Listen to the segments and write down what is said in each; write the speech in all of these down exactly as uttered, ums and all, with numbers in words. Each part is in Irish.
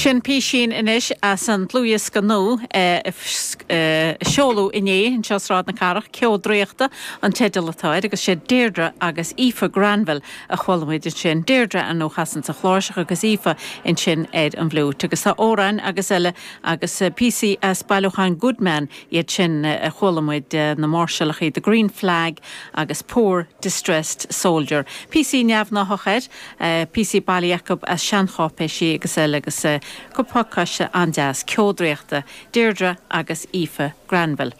Sin písín anois as an dlúthdhiosca nua a seoladh inné anseo Sráid na Cathrach, Ceo Draíochta an teideal atá air agus sé Deirdre agus Aoife Granville a chuala muid ansin. Deirdre an ó chasann sa chláirseach agus Aoife ansin ar an bhfliúit agus tá amhráin agus eile agus píosaí as bailiúchán Goodman iad sin a chuala muid na máirseálacha The Green Flag agus Poor Distressed Soldier. Píosaí neamhghnáthach air, píosaí bailithe acu as seancháipéisí agus eile agus pacáiste an-deas Ceo Draíochta Deirdre agus Aoife Granville.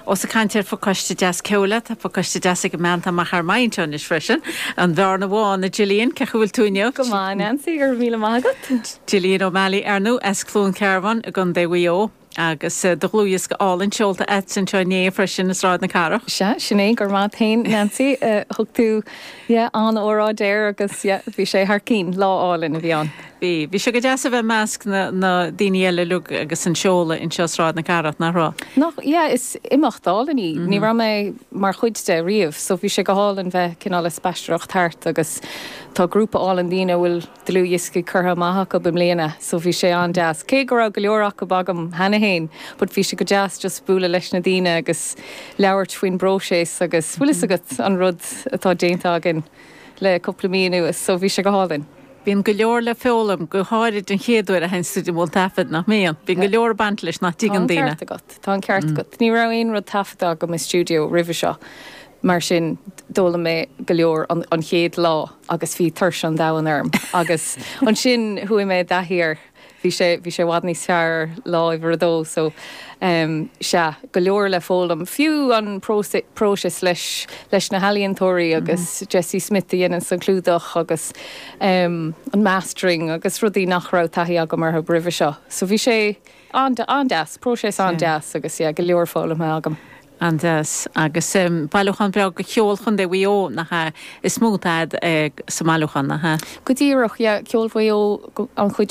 Ós ag caint ar phacáiste deas ceoil, tá pacáiste deas ag an mbean amach ar maidin anois freisin. An bhearna bhán a Gillian ce bhfuil tú inniu? Go maith Nancy gur míle maith agat. Gillian O'Malley arnú as Cluain Cearbán i gContae Mhaigh Eo. agus do dhlúthdhiosca álainn seolta agat anseo inné freisin i Sráid na Cathrach. Sea sin é gur maith féin Nancy thug tú an-óráid air agus bhí sé thar cinn lá álainn a bhí ann. Bhí bhí sé go deas a bheith measc na, na daoine eile uilig agus an seoladh anseo Sráid na Cathrach nach raibh. Nach yeah, is imeacht álainn í mm -hmm. Ní raibh mé mar chuid de riamh, so bhí sé go hálainn bheith cineál ag spaisteoireacht thart agus tá grúpa álainn daoine bhfuil dlúthdhioscaí curtha amach acu i mbliana, so bhí sé an-deas. Cé go raibh go leor acu agam cheana féin, but bhí sé go deas just bualadh leis na daoine agus labhairt faoin bpróiseas agus bhfuil a fhios agat an rud atá déanta againn le cúpla mí anuas, so bhí sé go hálainn. Bíonn go leor le foghlaim go háirid an chéad uair a théann tú i mbun taifead nach mbíonn. Bíonn go leor baint leis nach dtuigeann daoine. Tá an ceart agat. Ní raibh aon rud taifeadta agam i stiúideo roimhe seo. Mar sin d'fhoghlaim mé go leor an, an chéad lá agus bhí tuirse an domhain orm. agus ansin chuaigh mé i dtaithí air bhí sé bhí sé i bhfad níos fearr lá uimhir a dó so um, sea go leor le foghlaim fiú an próiseas leis leis na healaíontóirí agus mm -hmm. Jesse Smith a dhéanann an clúdach agus um, an mastering agus rudaí nach raibh taithí agam orthu roimhe seo. So bhí sé an-deas, próiseas an-deas agus yeah, go leor foghlamtha agam. An-deas agus um, bailiúchán breá de cheol Chontae Mhaigh Eo nach ea is mó atá uh, sa mbailiúchán nach ea. Go díreach ceol Mhaigh Eo an chuid